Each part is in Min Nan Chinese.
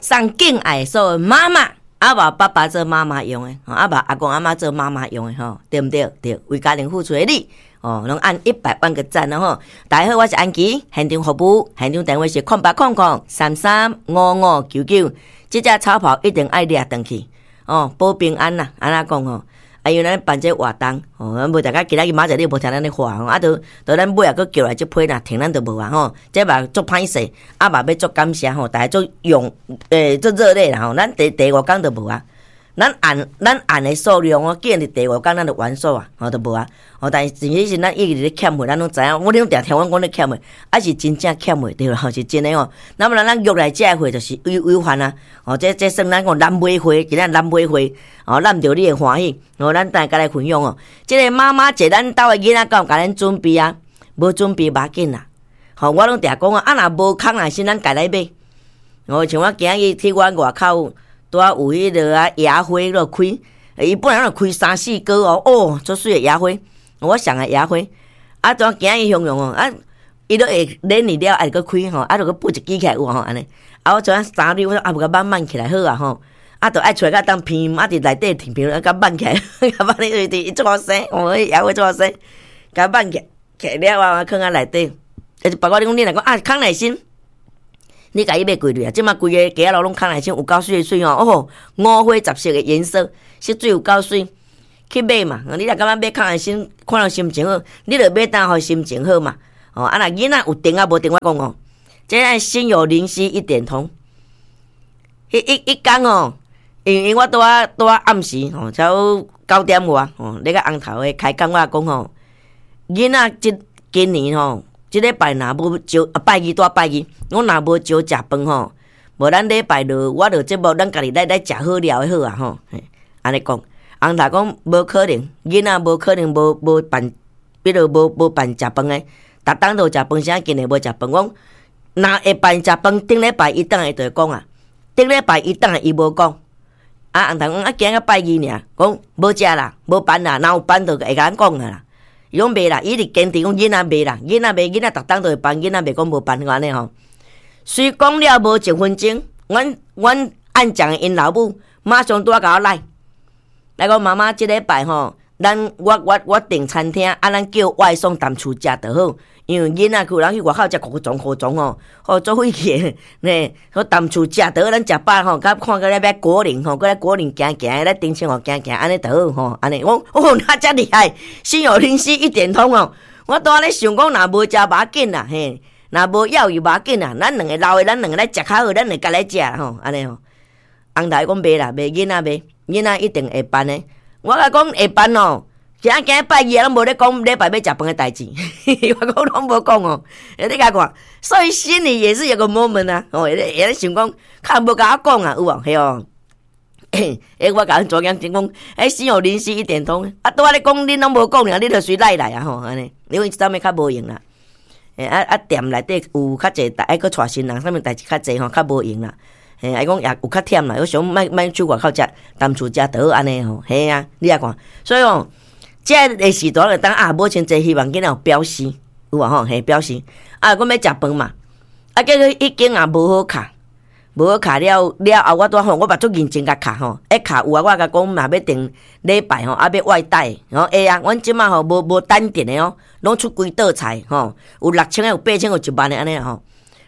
送敬愛所有媽媽，啊無爸爸做媽媽用的，啊無阿公阿嬤做媽媽用的吼，對毋對？對，為家庭付出的你，哦，攏按100萬個讚啦吼！大家好，我是安琪，現場服務，現場電話是0800335599。這隻草帽一定愛掠轉去，哦，保平安啦，按怎講吼？啊，因為咱辦這個活動，哦，無大家今仔日明仔載你無聽咱咧話吼，啊，都都咱尾仔閣叫來這批若停咱就無啊吼，這嘛足歹勢，啊嘛欲足感謝吼，大家足用足熱烈啦吼，咱第五工就無啊，咱按的數量哦，既然佇第五工咱就完數啊，吼，就無啊，吼，但是其實咱一直咧欠貨，咱攏知影，我攏定聽阮講咧欠貨，啊是真正欠貨對啦，是真的吼。那麼咱約來這個貨就是有限啊，哦，這算咱講難買貨，今仔難買貨，哦，咱毋著你會歡喜，哦，咱等下來分享哦。這個媽媽節，咱兜的囡仔敢有共咱準備啊？無準備無要緊啦，吼，我攏定講啊，啊若無空若是咱家來買。哦，像我今日去阮外口，拄仔有彼个啊野花咧開，伊本來攏開三四個哦，哦，足媠的野花，我上愛野花。啊，怎今日形容哦？啊，伊都會連年了，愛閣開吼，啊，就閣撥一支起來有吼按呢。啊，我像三蕊，我說啊，無共挽挽起來好啊吼。啊，就愛出來共當片，啊，佇內底停片，啊，共挽起來，共挽咧伊足好生，哦，野花足好生，共挽起來了啊，囥佇內底。啊，包括你講你若講啊，康乃馨。你共伊買幾蕊啊？這馬規个街仔路攏康乃馨，有夠媠的媠吼！哦，五花十色的顏色，色水有夠媠，去買嘛！你若感覺買康乃馨，看了心情好，你就買單予心情好嘛！哦，啊若囡仔有電啊無電，我講哦，這個心有靈犀一點通。彼一工哦，因為我拄仔暗時吼，差不多9點外吼，咧共尪頭的開講，我講吼，囡仔這今年吼。這禮拜若無招，啊拜二拄拜二，我若無招食飯吼，無咱禮拜六我就節目咱家己來食好料的好啊吼，按呢講，尪頭講無可能，囡仔無可能無辦，比如無辦食飯的，逐冬都有食飯，啥今年無食飯？講若會辦食飯，頂禮拜伊轉來就會講啊，頂禮拜伊轉來伊無講，啊尪頭講啊今仔拜二爾，講無食啦，無辦啦，若有辦就會共咱講啊啦。伊講袂啦，伊一直堅持講囡仔袂啦，囡仔袂，囡仔逐冬都會辦，囡仔袂講無辦按呢吼。雖講了無一分鐘，阮按講的𪜶老母馬上拄仔共我來，來講媽媽，這禮拜吼，咱我訂餐廳，啊，咱叫外送踮厝食就好，因為囡仔有人去外口食糊狀糊狀吼，吼足費氣的，呢，說踮厝食就好，咱食飽吼，較看過來欲果嶺吼，過來果嶺行行，來頂清湖行行，按呢就好吼，按呢，我哦，那遮厲害，心有靈犀一點通哦，我拄仔咧想講，若無食無要緊啦，嘿，若無要伊無要緊啦，咱兩个老的，咱兩个來食較好，咱兩个家來食吼，按呢吼。尪頭講袂啦，袂囡仔袂，囡仔一定會辦的。我共講會辦哦，今仔今拜二攏無咧講禮拜欲食飯的代誌，我講攏無講哦。你共看，所以心裡也是有個 moment 啊，哦，會咧想講，較無共我講啊，有無？嘿哦。欸，我共阮查某囝講，欸，心有靈犀一點通，啊，拄仔咧講，恁攏無講爾，你就隨來來啊吼，按呢，因為這啥物較無閒啦。欸，啊啊，店內底有較濟，愛閣帶新人，啥物代誌較濟吼，較無閒啦。嘿，啊講也有較忝啦，我想莫莫出外口食，踮厝食就好按呢吼。嘿啊，你也看，所以哦，這个時段就當啊，母親節希望囡仔有表示，有無吼？嘿，表示啊，阮欲食飯嘛，啊，結果彼間也無好卡，無好卡了了後，我拄吼，我嘛足認真共卡吼，一卡有啊，我共講若欲訂禮拜吼，啊欲外帶，吼會啊，阮這馬吼無無單點的哦，攏出規道菜吼，有6000个，有8000，有1萬个按呢吼。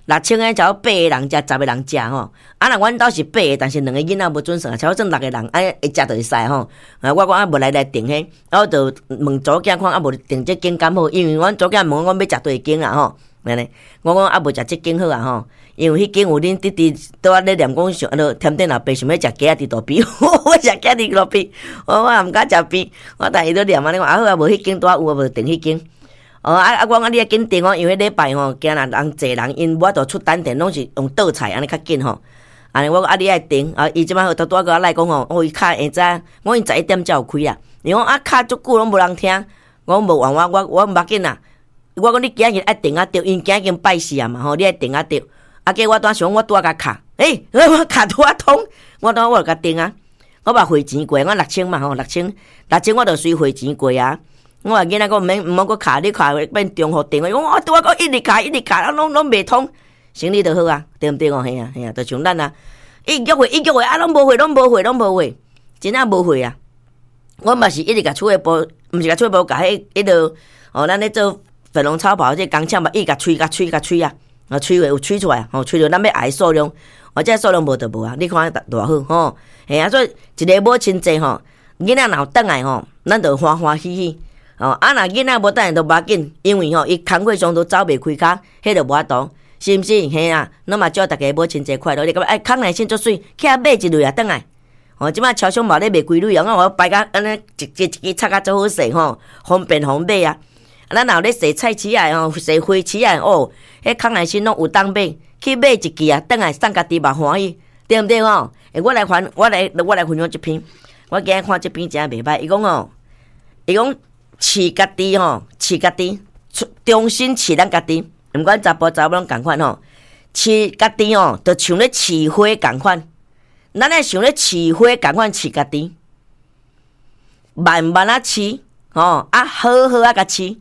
6000个，差不多八个人食，10个人食吼。啊，若阮兜是八個，但是兩個囡仔無準算，差不多算六個人，啊，會食就會使吼。啊，我講啊，無來來訂彼，啊，我就問查某囝看啊，無訂這間敢好，因為阮查某囝問我欲食佗一間啊吼。按呢，我講啊，無食這間好啊吼，因為彼間有恁弟弟拄仔咧念講想，啊，甜點老爸想欲食雞仔佇路邊，我食雞佇路邊，我也毋敢食邊，我但伊都念按呢講，啊好啊，無彼間拄仔有啊，無訂彼間。哦啊啊！我講啊，你愛緊訂哦，因為彼禮拜吼，驚若人濟人，𪜶無法度出單點，攏是用倒菜按呢較緊吼。按呢我講啊，你愛訂啊，伊這擺拄拄仔閣來講吼，哦，伊較會知，我講𪜶11點才有開啊。伊講啊，敲足久攏無人聽，我講無冤我無要緊啦。我講你今日愛訂啊著，因今日已經拜四啊嘛吼，你愛訂啊著。啊，結果我拄仔想我拄仔共敲，欸，我敲拄仔通，我拄仔我就共訂啊。我嘛匯錢過，我六千嘛吼，六千六千我就隨匯錢過啊。我話囡仔講毋免毋好閣敲，你敲變重複電話。伊講我拄仔閣一直敲一直敲，啊攏攏袂通。生理就好啊，對毋對哦？嘿啊嘿啊，就像咱啊，一約會一約會啊，攏無貨，攏無貨，攏無貨，真正無貨啊！我嘛是一直共厝的布，毋是共厝的布，共彼彼落哦，咱咧做粉紅超跑這個工廠嘛，一直共催共催共催啊，啊催有催出來，吼，催著咱欲愛的數量，哦，這數量無就無啊，你看偌好吼，嘿啊，所以一个母親節吼，囡仔若有轉來吼，咱就歡歡喜喜，哦，啊若囡仔無轉來就無要緊，因為吼伊工課上都走袂開跤，彼就無法度，是毋是？嘿啊，咱嘛祝逐家母親節快樂。你感覺哎，康乃馨足媠，起來買一蕊啊，轉來。哦，這擺超商嘛咧賣規蕊啊，我擺甲按呢一支一支插甲足好勢吼，方便予買啊。咱若有咧踅菜市仔吼，踅花市仔哦，彼康乃馨攏有當買，去買一支啊，轉來送家己嘛歡喜，對毋對吼？欸，我來還，我來，我來分享這篇。我今日看這篇真袂䆀，伊講吼，伊講飼家己吼，飼家己，重新飼咱家己，毋管查埔查某攏仝款吼，飼家己吼，就像咧飼花仝款。咱愛像咧飼花仝款飼家己，慢慢仔飼，吼啊好好仔共飼，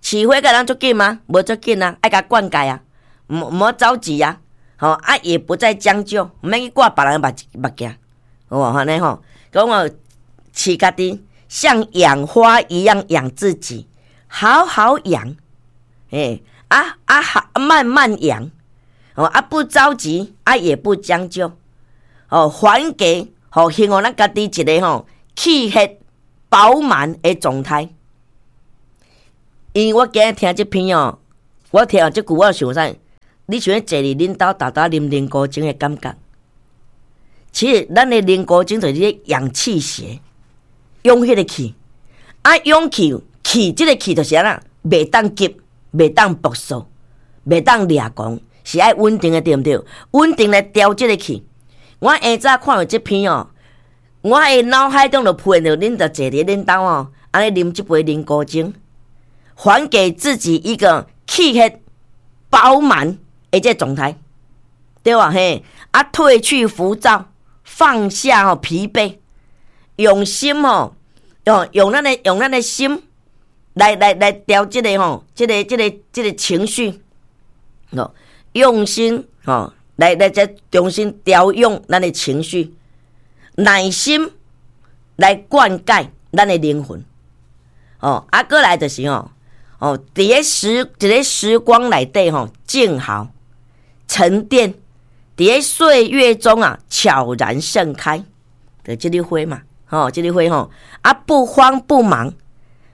飼花敢會當足緊嗎？無足緊啊，愛共灌溉啊，毋好著急啊，吼啊也不再將就，毋免去掛別人目目鏡，好無按呢吼？講哦，飼家己像養花一樣養自己，好好養，欸啊啊好慢慢養，哦啊不着急，啊也不將就。哦，還給予予咱家己一个吼氣血飽滿的狀態。因為我今日聽這篇哦，我聽這句我想啥？你想欲坐佇恁兜沓沓啉靈菇精的感覺？其實咱的靈菇精就是咧養氣血，養彼個氣。啊，養氣氣，這个氣就是按怎？袂當急，袂當暴躁，袂當掠狂，是愛穩定的，對毋對？穩定來調這个氣。我下早看著這篇哦，我的腦海中就浮現著恁就坐佇恁兜哦，按呢啉這杯靈菇精，還給自己一個氣血飽滿的這個狀態，對吧？嘿，啊，褪去浮躁，放下吼疲憊，用心吼，用咱的心來調這个吼，這個情緒，哦，用心吼。來來重新調養咱的情緒，耐心來灌溉咱的靈魂。哦，啊，閣來就是吼，哦，佇咧時光內底吼，靜好沉澱，佇咧歲月中啊，悄然盛開。就這個花嘛，吼，這個花吼，啊，不慌不忙，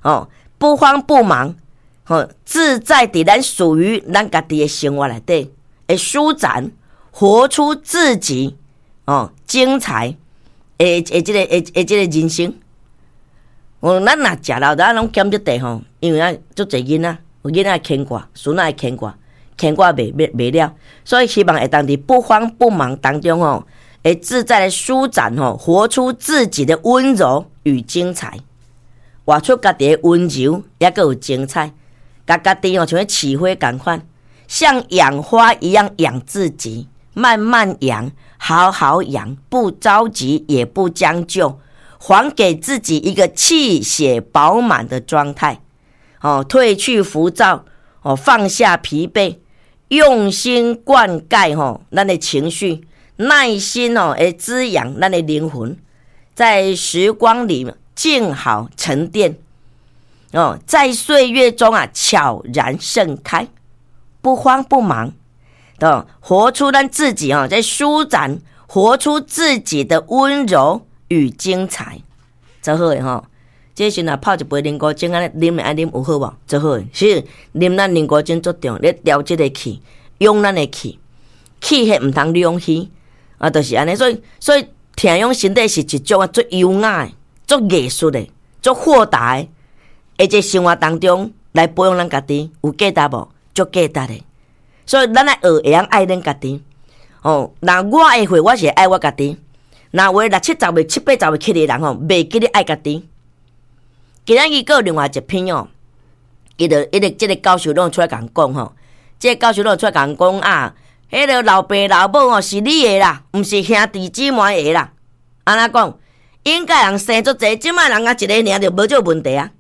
哦，不慌不忙，吼，自在佇咱屬於咱家己的生活內底，會舒展。活出自己哦，精彩的這個的這個人生。哦，咱若食老，咱攏減這塊吼，因為啊，足濟囡仔，有囡仔牽掛，孫仔會牽掛，牽掛袂了，所以希望會當佇不慌不忙當中吼，會自在的舒展吼，活出自己的溫柔與精彩，活出家己的溫柔，抑閣有精彩，共家己哦，像咧飼花仝款，像養花一樣養自己。慢慢養，好好養，不着急，也不將就，還給自己一個氣血飽滿的狀態。哦，褪去浮躁，哦，放下疲憊，用心灌溉吼咱的情緒，耐心哦，會滋養咱的靈魂，在時光裡靜好沉澱，哦，在歲月中啊悄然盛開，不慌不忙。哦，活出咱自己哦，在舒展，活出自己的溫柔與精彩，足好的吼。這時若泡一杯靈菇精按呢啉會愛啉有好無？足好的，是啉咱靈菇精足重要，咧調這个氣，養咱的氣，氣血毋通兩虛啊，就是按呢。所以疼養身體是一種啊，足優雅的、足藝術的、足豁達的，佇這生活當中來保養咱家己，有價值無？足價值的。所以咱愛學會曉愛恁家己，哦。若我的話，我是會愛我家己。若有的六七十歲、七八十歲起的人吼，袂記得愛家己。今仔日閣有另外一篇哦，伊就伊個這个教授攏出來共講吼，這个教授攏出來共講啊，彼个老爸老母哦是你的啦，毋是兄弟姊妹的啦。按怎講？應該人生足濟，這擺人啊一个爾就無這個問題啊。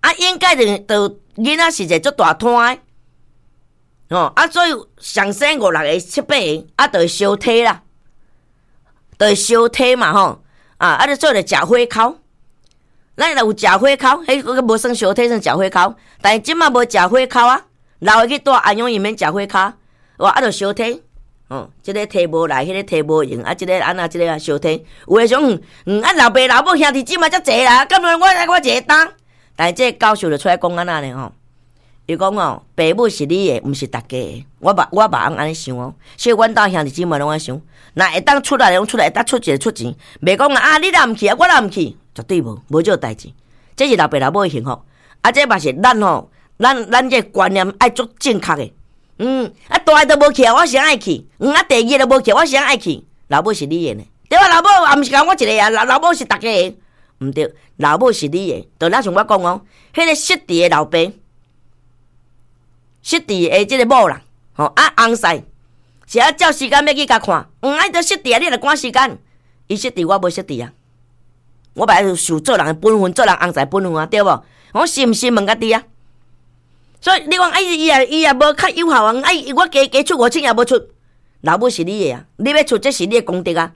啊，應該就就囡仔是一个足大攤的。吼啊，所以上生五六个、七八个，啊，就會相提啦，就會相提嘛吼，啊，啊，你做咧食火烤，咱若有食火烤，彼個無算相提，算食火烤，但是這馬無食火烤啊，老的去蹛安陽伊免食火烤，哇，啊，就相提，哦，這个提無來，彼个提無閒，啊，這个按怎，這个啊相提，有的想，啊，老爸老母兄弟姊妹遮濟啦，敢若我一个擔，但是這个教授就出來講按怎呢吼？伊講哦，爸母是你的，毋是逐家的。我嘛按呢想哦，所以阮兜兄弟姊妹攏按呢想，若會當出來，攏出來，會當出錢出錢，袂講啊，你若毋去啊，我若毋去，絕對無，無這個代誌。這是老爸老母的幸福，啊，這嘛是咱吼，咱這個觀念愛足正確的。啊，大的都無去啊，我啥愛去？啊，第二個都無去，我啥愛去？老母是你的呢，對吧？老母也毋是共我一个啊，老母是逐家的，毋對，老母是你的。就若像我講哦，彼个失智的老爸。失智的這个某啦，吼啊翁婿是啊照時間欲去共看，啊伊都失智啊，你著趕時間，伊失智我無失智啊，我嘛愛受做人的本分，做人翁婿本分啊，對無？我是毋是問家己啊？所以你講啊，伊也無較有效啊，啊我加加出5000也無出，老母是你的啊，你欲出這是你的功德啊，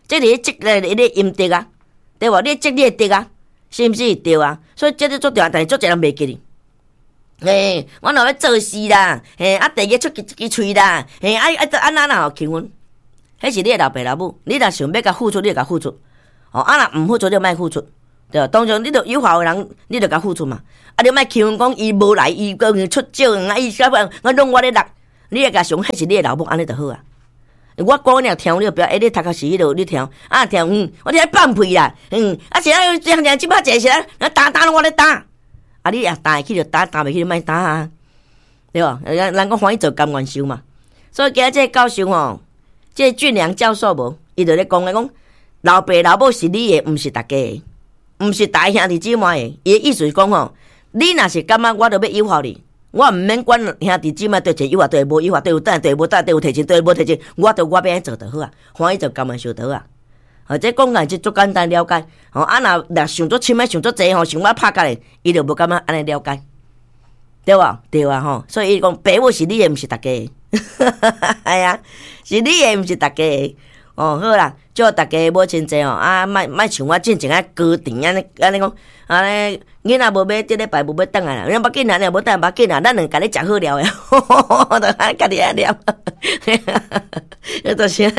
這是你積你的陰德啊，對無？你積你的德啊，是毋是？對啊，所以這個足重要，但是足濟人袂記哩。嘿，我若欲做事啦，嘿，啊，第二出一支喙啦，嘿，啊啊，按怎啦？求婚，彼是你的老爸老母，你若想欲共付出，你就共付出，哦，啊若毋付出，你就莫付出，對。當然你著有效的人，你著共付出嘛。啊，你莫求婚講伊無來，伊閣出少，啊，伊啥物，我攏我咧落，你會共想，彼是你的老母，按呢就好啊。我講你若聽，你就不要，欸，你讀較是彼落，你聽，啊聽，我聽放屁啦，啊是啊，這樣這擺濟是啊，擔擔攏我咧擔。啊！你也擔會起就擔，擔袂起就莫擔啊，對無？人人講歡喜做甘願受嘛。所以今日這个教授吼，這个俊良教授無，伊就咧講咧講，老爸老母是你的，毋是逐家的，毋是逐兄弟姊妹的。伊的意思是講吼，你若是感覺我著欲誘惑你，我毋免管兄弟姊妹對一誘惑，對無誘惑，對有等，對無等，對有提錢，對無提錢，我著我欲按怎做就好啊，歡喜做甘願受就好啊。或者講來就足簡單了解，吼啊若若想足深的想足濟吼，想欲拍甲咧，伊就無感覺按呢了解，對無？對啊吼，所以伊講爸母是你的，毋是逐家的，係啊，是你的，毋是逐家的。哦，好啦，祝大家母親節吼，啊，莫莫像我進前啊高甜按呢按呢講，按呢囡仔無欲這禮拜無欲轉來啦，無要緊啦，你無轉無要緊啦，咱兩家己食好料的，就按家己愛念，就是。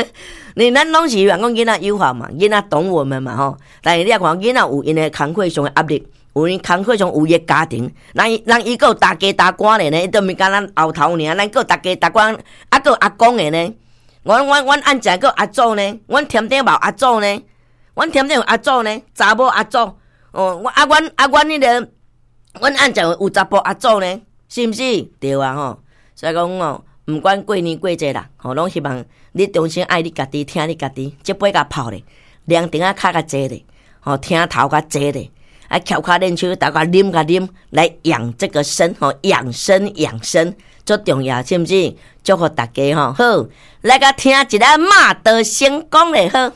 你咱攏是希望講囡仔有效嘛，囡仔懂我們嘛吼。但是你也看囡仔有𪜶的工課上的壓力，有𪜶工課上有伊的家庭，人人伊閣有大家大官的呢，伊都毋是干咱後頭爾，咱閣有大家大官，啊閣有阿公的呢。阮按正閣有阿祖呢，阮添頂嘛有阿祖呢，阮添頂有阿祖呢，查某阿祖，哦，啊阮啊阮彼个，阮按正有查埔阿祖呢，是毋是？對啊吼，所以講哦。毋管過年過節啦，吼，攏希望你衷心愛你家己，疼你家己，這杯共泡咧，涼亭仔跤共坐咧，吼，廳頭共坐咧，啊，翹跤練手，逐家啉共啉，來養這個身，吼，養生養生，足重要，是毋是？祝福大家吼，好，來共聽一下馬德成功咧，好。